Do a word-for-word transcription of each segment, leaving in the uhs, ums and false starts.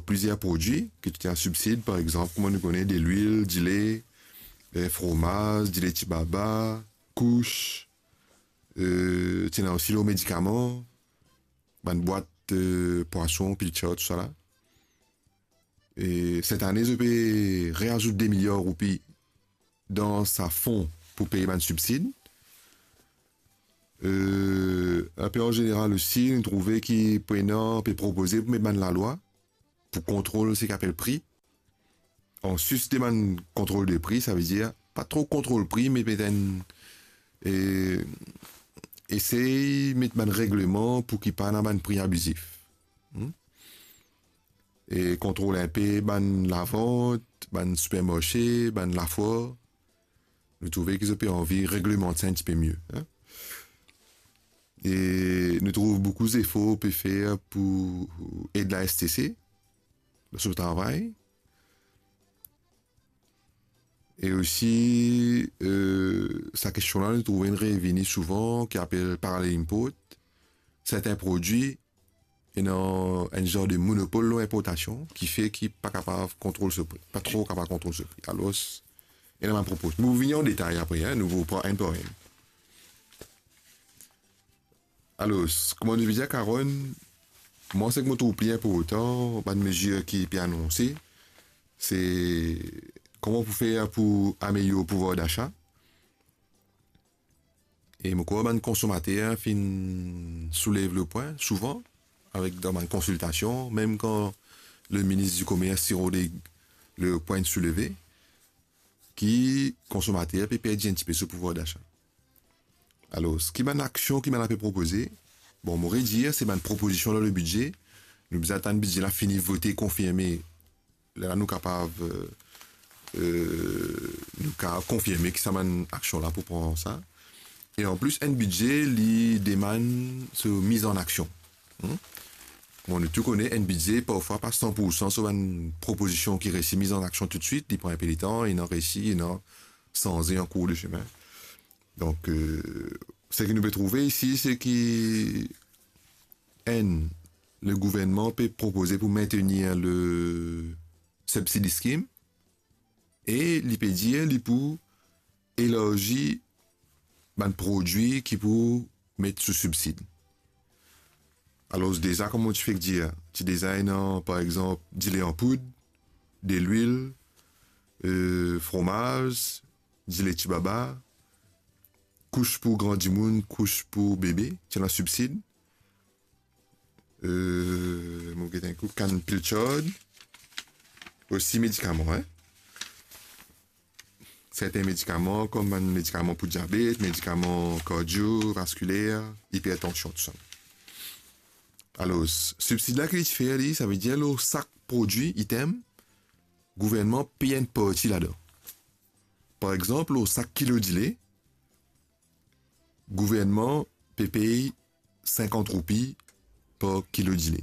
plizier prodwi ki ti ena sibsid, par exanp, kouma nou kone, delwil, dile, eh, fromaz, dile tibaba, kous, eh, ti ena osi lor medikaman, bann bwat, eh, pwason, pilchard, tousala. E set ane, zot pe reazout de miliar roupi dan sa fon pou pey bann sibsid. Eh, inpe an zeneral osi, nou trouve ki prenan pe propoze pou met bann lalwa pou kontrol seki apel pri. Anplis de bann kontrol de pri, savedir pa tro kontrol pri, me met enn, eh, esey met bann regleman pou ki pa ena bann pri abizif. Hmm? E kontrol inpe bann lavant, bann sipermarse, bann lafwar. Nou trouve ki zot pe anvi reglemant sa enn tipe mie, hein? E nou trouv boukou zefor pe fer pou ed la S T C dan so travay. E osi, eh, sa kestion la, nou trouve inn revini souvan, ki apel parallel import. Sertin prodwi ena enn zar de monopol lor inportasion, ki fer ki pa kapav kontrol so pri, pa tro kapav kontrol so pri. Alor, ena bann propoz. Nou vini an detay apre, hein, nou pran enn par enn. Alor, kouma nou pe dir, Karonn, mwa, seki mo trouv pli inportan, bann mezir ki pe anonse, se kouma pou fer pou amelyor pouvwar dasa. E mo krwar bann konsomater finn soulev le pwin souvan, avek dan bann konsiltasion, mem kan le minis di Komers ti rod le pwin souleve, ki konsomater pe perdi enn tipe so pouvwar dasa. Alor, ki bann aksion ki bann la pe propoze? Bon, mo redir, se bann propozision dan le bidze. Nou bizin atann bidze la fini vote, konfirme. Lerla nou kapav, eh, eh, nou kapav konfirme ki sa bann aksion la pou pran sa. E anplis, enn bidze, li demann so miz an aksion. Hmm? Bon, nou tou kone, enn bidze, parfwa pa san pour san so bann propozision ki resi miz an aksion toutswit, li pran inpe letan, ena resi, ena sanze an kour de semin. Donk, eh, seki nou pe trouve isi, se ki enn, le gouvernman pe propoze pou maintenir le subsidy scheme, e li pe dir li pou elarzi bann prodwi ki pou met sou sibsid. Alor, deza, kouma mo ti fek dir, ti deza ena, par exanp, dile an poud, delwil, eh, fromaz, dile tibaba, kous pou gran dimoun, kous pou bebe, ti ena sibsid. Eh, mo get enn kou, kann pilchard, osi medikaman, hein. Sertin medikaman, kom bann medikaman pou diabet, medikaman kardio, vaskiler, ipertansion, tousala. Alor, sibsid la ki li ti fer li, savedir lor sak prodwi, item, gouvernman pey enn parti ladan. Par exanp, lor sak kilo dile, gouvernman pe pey sinkant roupi par kilo dile.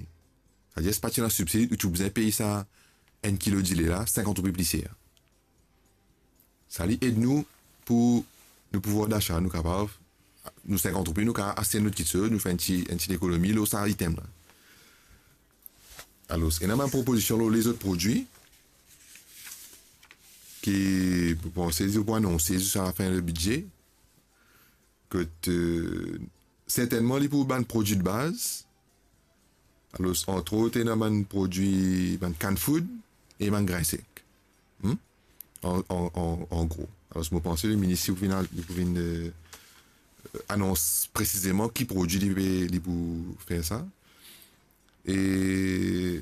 Savedir, si pa ti ena sibsid, ou ti bizin pey sa enn kilo dile la sinkant roupi pli ser. Sa li ed nou pou nou pouvwar dasa, nou kapav, nou sinkant roupi, nou kapav aste enn lot kiksoz, nou fer enn ti, enn ti lekonomi lor sa item la. Alor, ena bann propozision lor lezot prodwi ki, mo panse, zot pou anonse ziska lafin le bidze. Kot, eh, sertennman, li pou bann prodwi de baz. Alor, antrot, ena bann prodwi, bann kann foud e bann grin sek. Hmm? An, an, an, an gro. Alor, mo panse le minis pou vinn, pou vinn, eh, anons presizeman ki prodwi li pe, li pou fer sa. E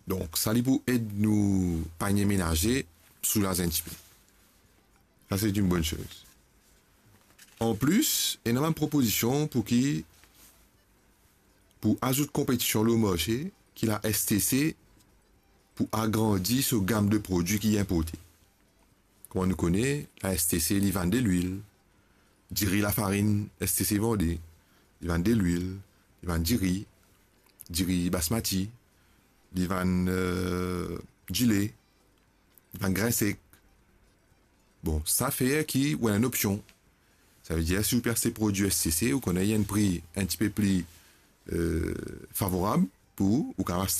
donk, sa li pou ed nou panie menaze soulaz enn tipe. Sa, se enn bonn soz. Anplis, ena bann propozision pou ki, pou azout konpetision lor marse, ki la S T C pou agrandi so gam de prodwi ki inporte. Kouma nou kone, la S T C, li vann delwil, diri lafarinn S T C vande, li vann delwil, li vann diri, diri basmati, li vann, eh, dile, li vann grin sek. Bon, sa fer ki ou ena enn opsion. Savedir, si ou pe aste prodwi S T C, ou kone ena enn pri enn tipe pli, eh, favorab pou ou, ou kapav